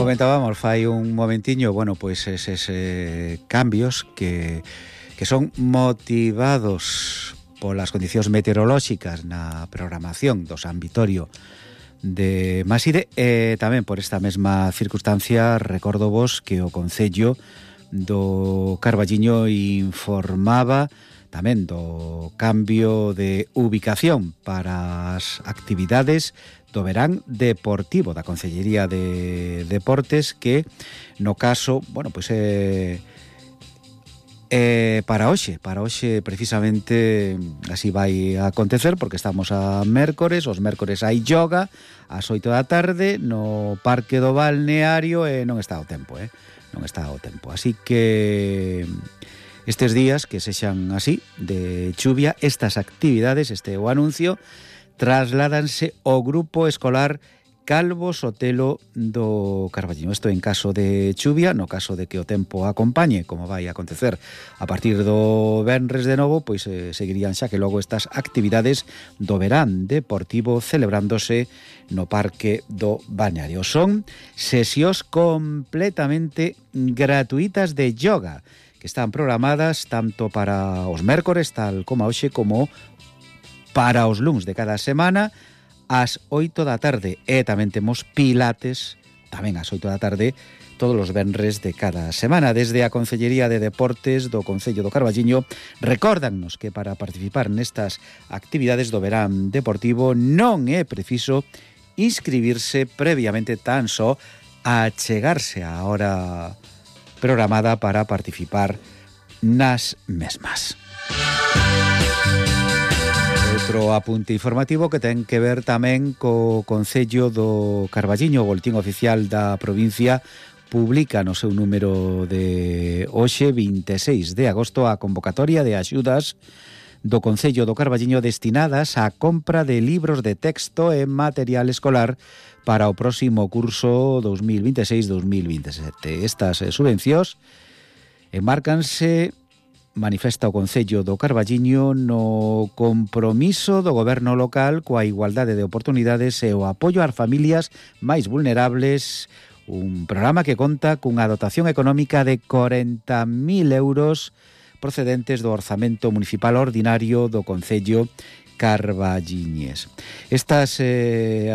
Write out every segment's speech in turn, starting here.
comentábamos fai un momentiño, bueno, pois eses cambios que son motivados polas condicións meteorolóxicas na programación do San Vitorio de Maside, e tamén por esta mesma circunstancia recordo vos que o Concello do Carballiño informaba tamén do cambio de ubicación para as actividades do verán deportivo da Concellería de Deportes, que no caso, bueno, pois para hoxe precisamente así vai a acontecer, porque estamos a mércores, os mércores hai yoga ás 8 da tarde no Parque do Balneario e non está o tempo, así que estes días que sexan así de chuvia, estas actividades, este o anuncio, trasládanse ao grupo escolar Calvo Sotelo do Carballiño. Isto en caso de chuvia, no caso de que o tempo acompañe, como vai a acontecer a partir do venres de novo, pois seguirían xa que logo estas actividades do verán deportivo celebrándose no Parque do Balneario. Son sesións completamente gratuitas de yoga que están programadas tanto para os mércores, tal como hoxe, como para os luns de cada semana ás 8 da tarde, e tamén temos pilates tamén ás 8 da tarde todos os venres de cada semana. Desde a Concellería de Deportes do Concello do Carballiño recórdannos que para participar nestas actividades do verán deportivo non é preciso inscribirse previamente, tan só achegarse á hora programada para participar nas mesmas. Outro apunte informativo que ten que ver tamén co Concello do Carballiño. O Boletín Oficial da provincia publica no seu número de hoxe, 26 de agosto, a convocatoria de axudas do Concello do Carballiño destinadas á compra de libros de texto e material escolar para o próximo curso 2026-2027. Estas subvencións enmárcanse, manifesta o Concello do Carballiño, no compromiso do goberno local coa igualdade de oportunidades e o apoio ás familias máis vulnerables, un programa que conta cunha dotación económica de 40.000 euros procedentes do orzamento municipal ordinario do Concello carballiñes. Estas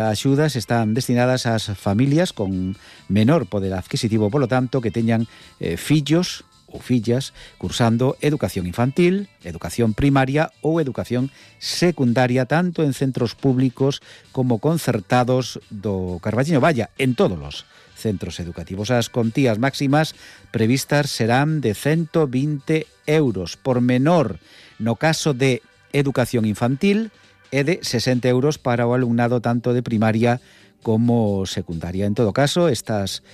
axudas están destinadas ás familias con menor poder adquisitivo, polo tanto, que teñan fillos ou fillas cursando educación infantil, educación primaria ou educación secundaria, tanto en centros públicos como concertados do Carballiño. Vaya, en todos os centros educativos. As contías máximas previstas serán de 120 euros por menor no caso de educación infantil e de 60 euros para o alumnado tanto de primaria como secundaria. En todo caso, estas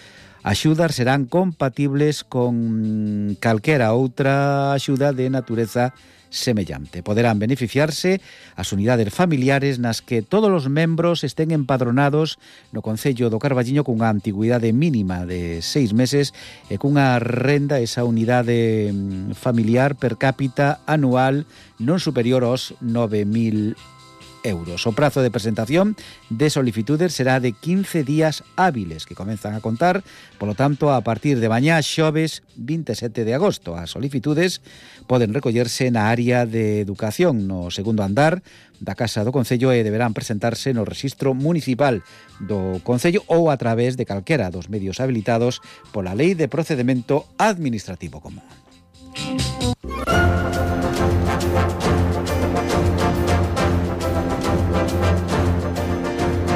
axudas serán compatibles con calquera outra axuda de natureza semellante. Poderán beneficiarse as unidades familiares nas que todos os membros estén empadronados no Concello do Carballiño cunha antigüidade mínima de 6 meses e cunha renda, esa unidade familiar per cápita anual non superior aos 9.000 euros. O prazo de presentación de solicitudes será de 15 días hábiles que comenzan a contar, polo tanto, a partir de mañá xoves 27 de agosto. As solicitudes poden recollerse na área de educación no segundo andar da Casa do Concello e deberán presentarse no rexistro municipal do Concello ou a través de calquera dos medios habilitados pola Lei de Procedemento Administrativo Común.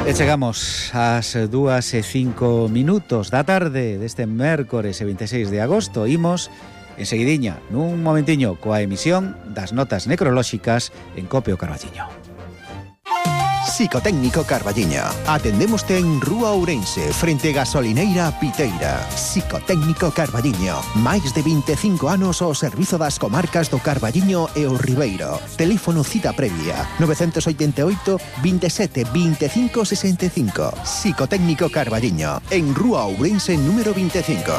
E chegamos ás 2:05 da tarde deste mércores 26 de agosto. Imos enseguidiña, nun momentiño, coa emisión das notas necrolóxicas en Cope o Carballiño. Psicotécnico Carballiño. Atendémoste en Rúa Ourense, frente Gasolineira Piteira. Psicotécnico Carballiño. Máis de 25 anos ao servizo das comarcas do Carballiño e o Ribeiro. Teléfono cita previa 988 27 25 65. Psicotécnico Carballiño, en Rúa Ourense número 25.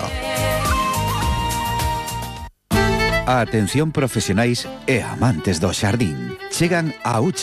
Atención profesionais e amantes do xardín. Chegan a